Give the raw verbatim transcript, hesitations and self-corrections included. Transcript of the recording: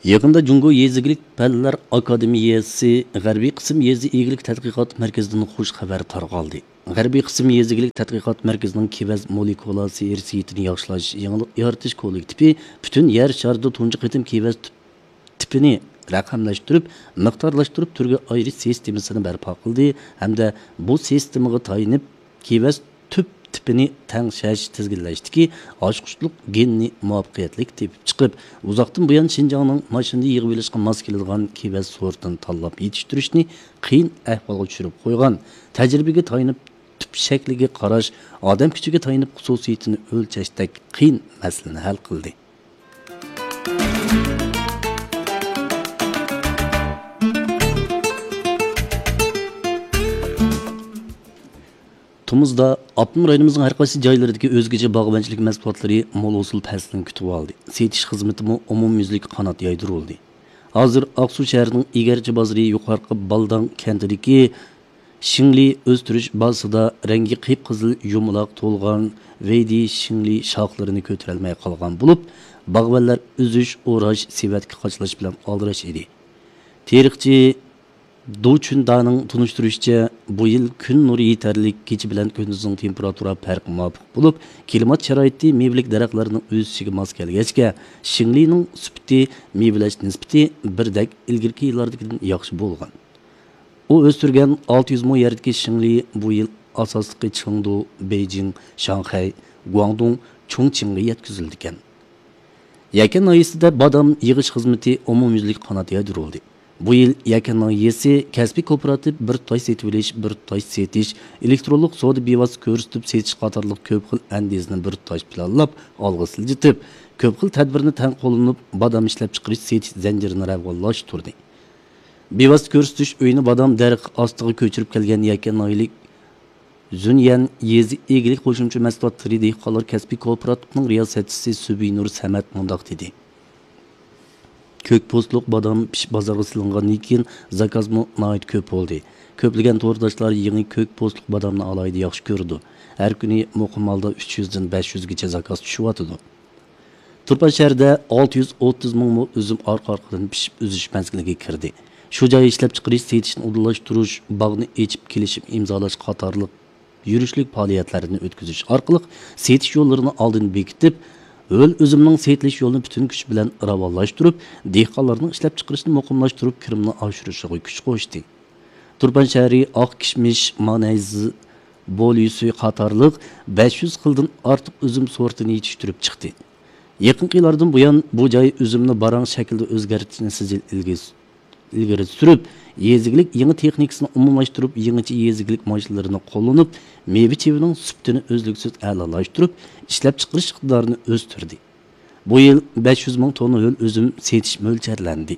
يېقىندا جۇڭگو يېزا ئىگىلىك پەنلەر ئاكادېمىيەسى غەربىي قىسىم يېزا ئىگىلىك تەتقىقات مەركىزىدىن خۇش خەۋەر تارقالدى. غەربىي قىسىم يېزا ئىگىلىك تەتقىقات مەركىزىنىڭ كېۋەز مولېكۇلا سېھرىي سېيىتىنى ياخشىلاش يېڭىلىق يارىتىش كوللېكتىپى پۈتۈن يەر شارىدا تۇنجى قېتىم كېۋەز تىپ-، تىپىنى رەقەملەشتۈرۈپ، مىقدارلاشتۇرۇپ، تۈرگە ئايرىش سىستېمىسىنى بەرپا قىلدى ھەمدە بۇ سىستېمىغا تايىنىپ، كېۋەز تۈپ تىپىنى تەڭشەش، تىزگىنلەشتىكى ئاچقۇچلۇق گېننى مۇۋەپپەقىيەتلىك تېپىپ چىقىپ، ئۇزاقتىن بۇيان شىنجاڭنىڭ ماشىنىدا يىغىۋېلىشقا ماس كېلىدىغان كېۋەز سورتىنى تاللاپ يېتىشتۈرۈشنى قىيىن ئەھۋالغا چۈشۈرۈپ قويغان، تەجرىبىگە تايىنىپ تۈپ شەكلىگە قاراش، ئادەم كۈچىگە تايىنىپ خۇسۇسىيىتىنى ئۆلچەشتەك قىيىن مەسىلىنى ھەل قىلدى. تومۇزدا ئاپتونوم رايونىمىزنىڭ ھەر قايسى جايلىرىدىكى ئۆزگىچە باغۋەنچىلىك مەھسۇلاتلىرى مول ھوسۇل پەسلىنى كۈتۈۋالدى. سېتىش خىزمىتىمۇ ئومۇميۈزلۈك قانات يايدۇرۇلدى. ھازىر ئاقسۇ شەھىرىنىڭ ئىگەرچى بازىرى يۇقارقى بالداڭ كەنتىدىكى شىڭلى ئۆستۈرۈش بازىسىدا رەڭگى قىپقىزىل يۇمىلاق تولغان ۋېيدى شىڭلى شاخلىرىنى كۆتۈرەلمەي قالغان بولۇپ، باغۋەنلەر ئۈزۈش، ئوراش، سېۋەتكە قاچىلاش بىلەن ئالدىراش ئىدى. تېرىقچى دۇ چۈندانىڭ تونۇشتۇرۇشىچە، بۇ يىل كۈن نۇرى يېتەرلىك، كېچە بىلەن كۈندۈزنىڭ تېمپېراتۇرا پەرقى مۇۋاپىق بولۇپ، كىلىمات شارائىتى مېۋىلىك دەرەخلەرنىڭ ئۆسۈشىگە ماس كەلگەچكە، شىڭلىنىڭ سۈپىتى، مېۋىلەش نىسبىتى بىردەك ئىلگىرىكى يىللاردىكىدىن ياخشى بولغان. ئۇ ئۆستۈرگەن ئالتە يۈز مو يەردىكى شىڭلى بۇ يىل ئاساسلىقى چېڭدۇ، بېيجىڭ، شاڭخەي، گۇاڭدۇڭ، چۇڭچىڭغا يەتكۈزۈلىدىكەن. يەكەن ناھىيەسىدە بادام يىغىش خىزمىتى ئومۇميۈزلۈك قانات يايدۇرۇلدى. بۇ يىل يەكەن ناھىيەسى كەسپىي كوپىراتىپ بىر تۇتاش سېتىۋېلىش، بىر تۇتاش سېتىش، ئېلېكترونلۇق سودا بىۋاسىتە كۆرسىتىپ سېتىش قاتارلىق كۆپ خىل ئەندىزىنى بىر تۇتاش پىلانلاپ ئالغا سىلجىتىپ، كۆپ خىل تەدبىرنى تەڭ قوللىنىپ، بادام ئىشلەپچىقىرىش سېتىش زەنجىرىنى راۋانلاشتۇردى. بىۋاسىتە كۆرسىتىش ئۆيىنى بادام دەرىخى ئاستىغا كۆچۈرۈپ كەلگەن يەكەن ناھىيەلىك زۈنيەن يېزا ئىگىلىك قوشۇمچە مەھسۇلاتلىرى دېھقانلار كەسپىي كوپىراتىپىنىڭ رىياسەتچىسى سۈبىنۇر سەمەت مۇنداق دېدى: كۆك پوستلۇق بادام پىشىپ بازارغا سېلىنغاندىن كېيىن، زاكازمۇ ناھايىتى كۆپ بولدى. كۆپلىگەن تورداشلار يېڭى كۆك پوستلۇق بادامنى ئالاھىدە ياخشى كۆرىدۇ. ھەر كۈنى مۇقىم ھالدا ئۈچ يۈزدىن بەش يۈزگىچە زاكاز چۈشۈۋاتىدۇ. تۇرپان شەھىرىدە ئالتە يۈز ئوتتۇز مىڭ مو ئۈزۈم ئارقا-ئارقىدىن پىشىپ ئۈزۈش مەزگىلىگە كىردى. شۇ جاي ئىشلەپچىقىرىش سېتىشنى ئۇدۇللاشتۇرۇش، باغنى ئېچىپ كېلىشىم ئىمزالاش قاتارلىق يۈرۈشلۈك پائالىيەتلەرنى ئۆتكۈزۈش ئارقىلىق سېتىش يوللىرىنى ئالدىن بېكىتىپ، ھۆل ئۈزۈمنىڭ سېتىلىش يولىنى پۈتۈن كۈچ بىلەن راۋانلاشتۇرۇپ، دېھقانلارنىڭ ئىشلەپچىقىرىشىنى مۇقىملاشتۇرۇپ، كىرىمىنى ئاشۇرۇشىغا كۈچ قوشتى. تۇرپان شەھىرى ئاق كىشمىش، مانەيز، بوليۈسۈ قاتارلىق بەش يۈز خىلدىن ئارتۇق ئۈزۈم سورتىنى يېتىشتۈرۈپ چىقتى. يېقىنقى يىللاردىن بۇيان، بۇ جاي ئۈزۈمنى باراڭ شەكلىدە ئۆزگەرتىشنى سىجىل ئىلگىرى، ئىلگىرى سۈرۈپ، يېزا ئىگىلىك يېڭى تېخنىكىسىنى ئومۇملاشتۇرۇپ، يېڭىچە يېزا ئىگىلىك ماشىنىلىرىنى قوللىنىپ، مېۋە-چېۋىنىڭ سۈپىتىنى ئۈزلۈكسىز ئەلالاشتۇرۇپ، ئىشلەپچىقىرىش ئىقتىدارىنى ئۆستۈردى. بۇ يىل بەش يۈز مىڭ توننا ھۆل ئۈزۈم سېتىش مۆلچەرلەندى.